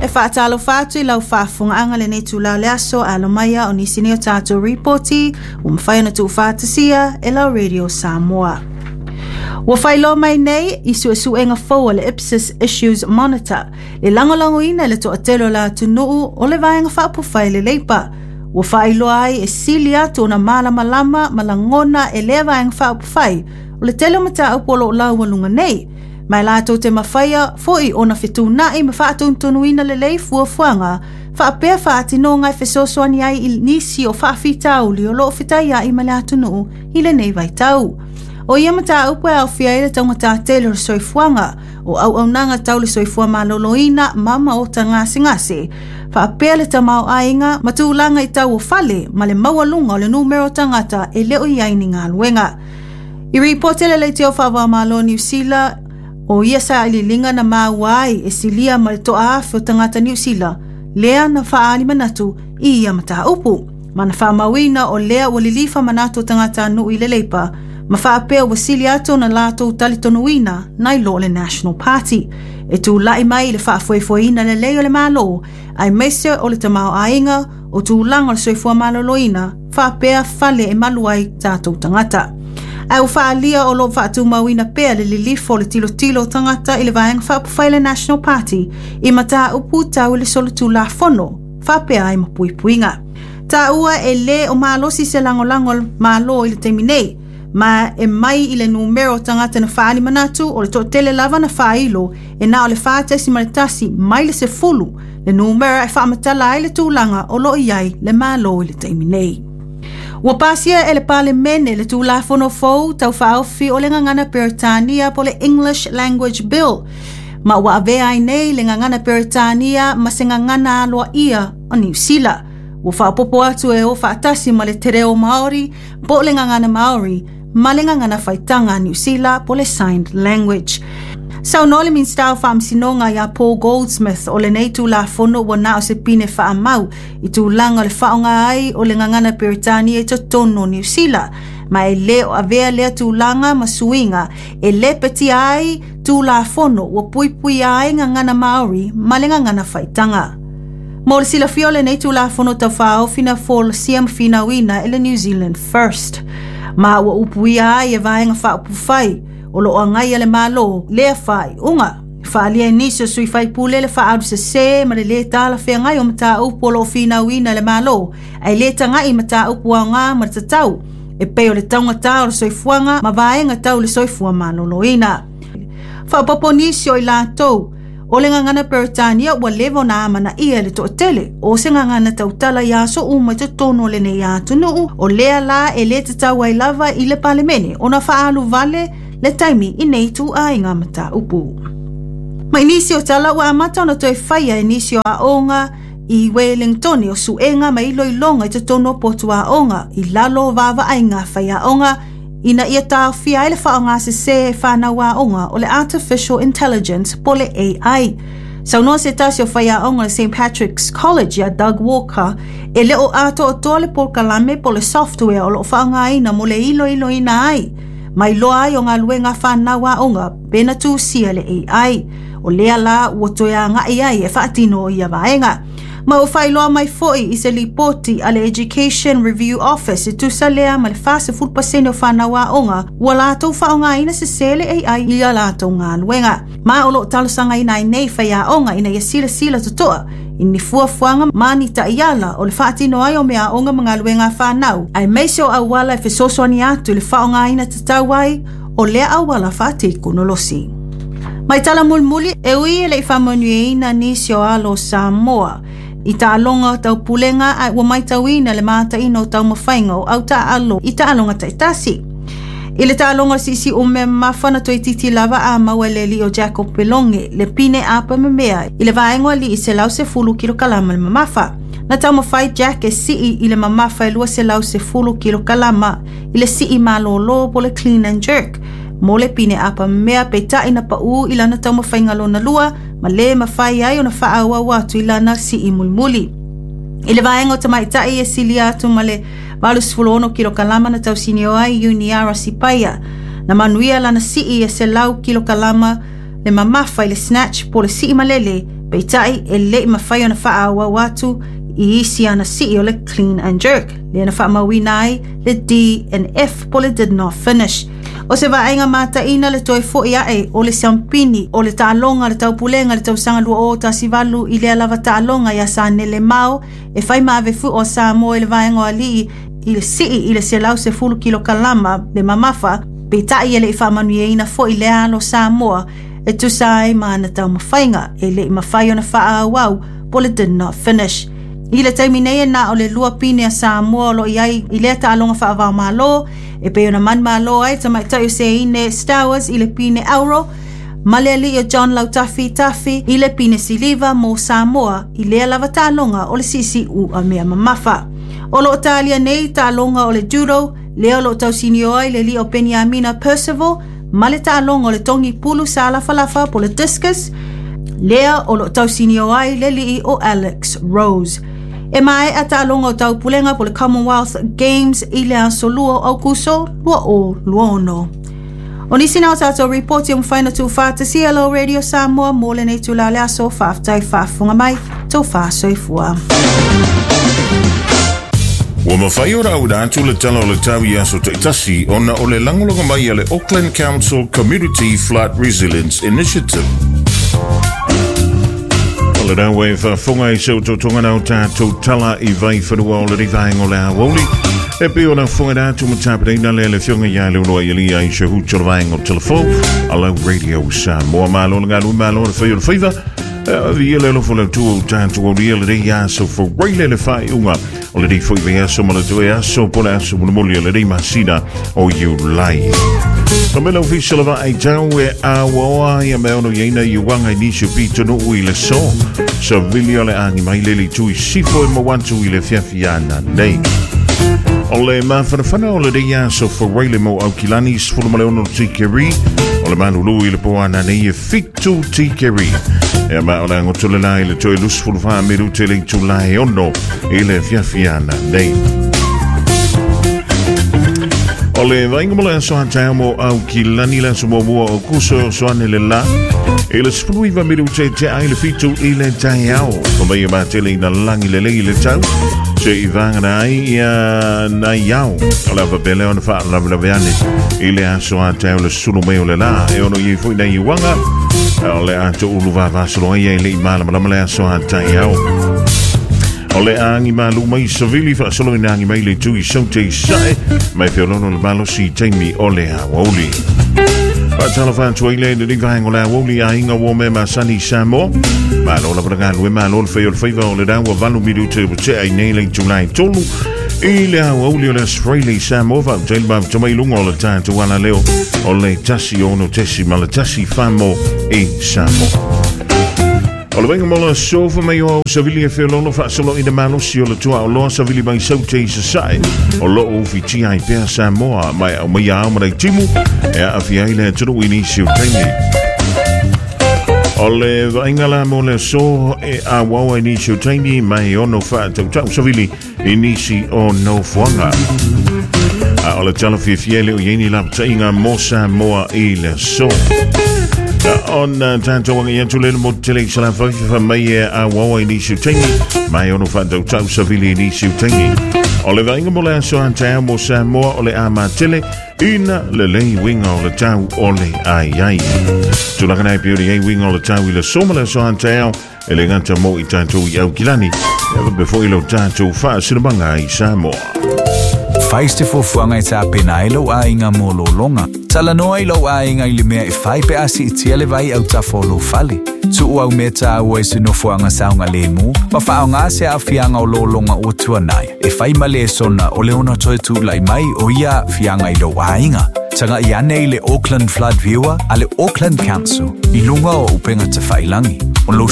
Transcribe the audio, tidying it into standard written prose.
faatalofa atu i lau faafofogaaga i lenei itulā o le aso. Alo maia o nisi nei o tatou ripoti ua mafai ona tuufaatasia e lau Radio Samoa. Ua faailoa mai nei i suesuega fou a le Ipsos Issues Monitor le lagolagoina e le toatele o le atunuu o le Vaega Faaupufai a le Leipa, ua faailoa ai e sili atu ona malamalama ma lagona e lea Vaega Faaupufai o le tele o mataupu o lo o laualuga nei, ma e latou te mafaia foi ona fetuunai ma faatonutonuina lelei fuafuaga faapea faatinoga e fesoasoani ai i nisi o faafitauli o lo o fetaiai ma le atunuu i lenei vaitau. O ia mataupu e aofia ai le taugata tele o le soifuaga, o auaunaga tau le soifua maloloina ma maota gasegase, faapea le tamaoaiga ma tulaga i tau o fale ma le maualuga o le numera o tagata e le o i ai ni galuega. I ripoti a le Leitio Faava-o-Malo o Niu Sila, o ia sailiiliga na maua ai e silia ma le toa-afe o tagata Niu Sila lea na faaali manatu i ia mataupu, ma na faamauina o lea ua lilifa manatu o tagatanuu i le Leipa ma faapea ua sili atu ona latou talitonuina nai lo le National Party e tulai mai i le faafoefoeina lelei o le Malo aemaise o le tamaoaiga o tulaga o le soifua maloloina faapea fale e malu ai tatou tagata. Ae ua faaalia o lo o faatumauina pea le lilifo o le tilotilo o tagata i le Vaega Faaupufai a le National Party i mataupu tau i le solitulafono faapea ai ma puipuiga. Taua e lē o malosi se lagolago a le Malo i le taimi nei, ma e mai i le numera o tagata na faaali manatu o le toatele lava na faailo e na o le 4.1 mai le 10 le numera e faamatala ai le tulaga o lo o i ai le Malo i le taimi nei. Ua pasia e le Palemene le Tulafono fou tau faaofi o le gagana Peretania po o le English Language Bill, ma ua avea ai nei le gagana Peretania ma se gagana aloaia o Niu Sila. Ua faaopoopo atu e o faatasi ma le te reo Māori po o le gagana Māori ma le gagana faitaga a Niu Sila po o le Signed Language. Saunoa le Minisita o Faamasinoga iā Paul Goldsmith o lenei Tulafono ua na o se pine faamau i tulaga o le faaaoga ai o le gagana Peretania i totonu o Niu Sila, ma e le o avea lea tulaga ma suiga e lepetia ai Tulafono ua puipuia ai gagana Māori ma le gagana faitaga. Mo le silafia o lenei Tulafono Taufaaofi na folasia ma finauina e le New Zealand First, ma ua upuia ai e Vaega Faaupufai o lo o agaia le Malo lea faaiuga. Faaalia e nisi o sui faipule le faaalu sesē ma le lē talafeagai o mataupu o lo o finauina e le Malo, ae lē tagai i mataupu aoga ma le tatau e pei o le taugata o le soifuaga ma vaega tau le soifua maloloina. Faaopoopo nisi o i latou o le gagana Peretania ua leva ona amanaia e le toatele o se gagana tautala i aso uma i totonu o lenei atunuu, o lea la e lē tatau ai lava i le Palemene ona faaalu vale le taimi i nei ituaiga mataupu. Ma i nisi o tala ua amata ona toe faia e nisi o aoga i Wellingtone o suega ma iloiloga i totonu o potu aoga i lalo o vaavaaiga a faiaoga ina ia taofia ai le faaaoga sesē e fanau aoga o le Artificial Intelligence po o le AI. Saunoa se tasi o faiaoga o le St. Patrick's College iā Doug Walker e le o atoatoa le polokalame po o le software o lo o faaaogaina mo le iloiloina ai ma iloa ai o galuega a fanau aoga pe na tusia le AI. O lea la ua toe agai ai e faatino ia vaega. Ma ua faailoa mai foi i se lipoti a le Education Review Office e tusa lea ma le 40% o fanau aoga ua latou faaaogaina sesē le AI i a latou galuega. Ma o lo o talosagaina ai nei faiaoga ina ia silasila totoa i ni fuafuaga ma ni taiala o le faatino ai o meaaoga ma galuega a fanau, aemaise o auala e fesoasoani atu i le faaaogaina tatau ai o lea auala faatekonolosi. Mai tala mulimuli, e ui e le i faamanuiaina nisi o alo o Samoa i taaloga taupulega ae ua matauina le mataina o taumafaiga o au taaalo i taaloga taitasi. I le taaloga o le siisiu mea mamafa na toeitiiti lava a maua e le alii o Jacob Pelonge le pine apa memea i le vaega o alii 110 kilokalama le mamafa. Na taumafai Jack e sii i le mamafa e 210 kilokalama i le sii malōlō po o le clean and jerk mo le pine apa mea peitai na paʻū i lana taumafaiga lona lua ma lē mafai ai ona faaauau atu i lana sii mulimuli. I le vaega o tamaitai e silia atu ma le 86 kilokalama na tausinio ai Uniara Sipaia. Na manuia lana sii e 100 kilokalama le mamafa i le snatch po o le sii malele Peitai e le'i mafai ona fa'aauau atu i isi ana si'i o le clean and jerk, lea na fa'amauina ai le D and F po le did not finish. O se vaaiga mataina le toe fo'i a'e o le siampini o le taaloga le taupulega le tausaga 2018 i lea lava taaloga iā Sanele Mao e fai ma ave fu'o a Samoa i le vaega o ali'i i le si'i i le 110 kilokalama le mamafa, peitai e le'i fa'amanuiaina fo'i lea alo Samoa e tusa ai ma ana taumafaiga e le'i mafai ona fa'aauau po le did not finish. I le taimi nei e na o le lua pine a Samoa o lo'o i ai i lea taaloga fa'avaomālō e pei ona manumalo ai tamaita'i o Seine Stowers i le pine auro ma le ali'i o John Lautafi Tafi i le pine siliva mo Samoa i lea lava taaloga o le si'isi'u mea mamafa. O lo'o talia nei taaloga o le judo lea o lo'o tausinio ai le ali'i o Peniamina Percival ma le taaloga o le togi pulu sa lafalafa po le discus lea o lo'o tausinio ai le ali'i o Alex Rose. E mae'a taaloga o taupulega po le Commonwealth Games i le aso 2 o Aukuso 2026. O nisi na o tātou ripoti o mawhai na tū lau Radio Samoa mō lenei tula le aso faafetai faafofoga mai tau faasoifua. Ua mafai ona auina atu le tala o le tau i aso ta'itasi ona o le lagolago mai a le Auckland Council Community Flood Resilience Initiative. O le rau e faafofoga i se otootoga na o tatou tala i vaifanua o le vaega o le aoauli. E pei ona fofoga atu ma tapenaina lea le afioga ia Leuluai Elia i se hutu o le vaega o telefo a lau Radio Samoa. Malo le galue, malo le fai o le faiva. Via le alofa o le Atua o tatou aulia lenei aso Faraile le faaiuga o lenei foi vaiaso ma le toe aso po le aso mulimuli o lenei masina o Iulai. O me lau fisa lava ai tau e awaoa ia me ono iaina i uanga i nisi o pito i le so. Sa vili o le angi mai lele tui sifo e mawantu i le fiafiana nei. O le mafanafana o le rei aso Faraile mo Aukilani 16 tikeri. O le malulu i le poana nei e 7 tikeri. E ma o le angotole la i le toe 24 minute le itula e 6 i le fiafiana nei. O le vaaiga mo le aso a taeao mo Aukilani le aso muamua o Kuso o soane le la. I le 19 minute te ai le 7 i le taeao. Ko mai e matele ina langi le lei le tau. Se i vāngana ai ia nai ao. O le awapele ona wha ane i le aso a taeao le sulu mai o le la. E ono i foi nei uanga. O le ato ulu vavasolo ai e le i malamalama le aso a taeao. O le agi malu mai savili faasolo ina agi mai le tui saute i sae mai feolono le malosi taimi o le aoauli. Faatalofa atu ai le lenei vaega o le aoauli aiga ua mea masani Samoa. Malo lava le galue, malo le fai o le faiva o le ua 8 minute ua tea i nei le itula e 3. I le aoauli o le aso Faraile Samoa faafetai le mafuta mai luga o le tatou alaleo o le 106.1 famo i Samoa. O le vaaiga mo le sofa mai o savili e feoloolo faasolo ina malosi o le tua o loa savili mai saute i sasae o loo ufitia ai pea Samoa mai au mai ao ma timu e aafia ai le atunuu i nisi o taimi. O le vaaiga la mo le aso e auaua i nisi o taimi mai ono faatautau savili i nisi o nofoaga. A o le tala fiafia e le o iai ni lapataiga mo Samoa i le aso. Ona tatou agai atu le mo tele i Salafai fa mai e auaua i nisi o taimi mai ono faatautau savili i nisi o taimi. O le vaaiga mo le aso a taeao mo Samoa o le a matele ina lelei uiga o le tau o le ai ai. Tulaga nei pei ona i ai uiga o le tau i le aso ma le aso a taeao e le gata mo i tatou i Aukilani e faapea foi lo tatou faasilamaga i Samoa. Fai se fuafuaga e tapena ai lou aiga mo lologa. Talanoa i lou aiga i le mea e fai pe a siitia le vai autafa o lou fale. Tuu au mea tāua i se nofoaga saogalemu, ma faaaogā se aafiaga o lologa ua tuanai. E fai ma lesona o le ono toe tula'i mai o ia aafiaga i lou aiga. Taga'i ane i le Auckland Flood Viewer a le Auckland Council i luga o upega tafa'ilagi. O lou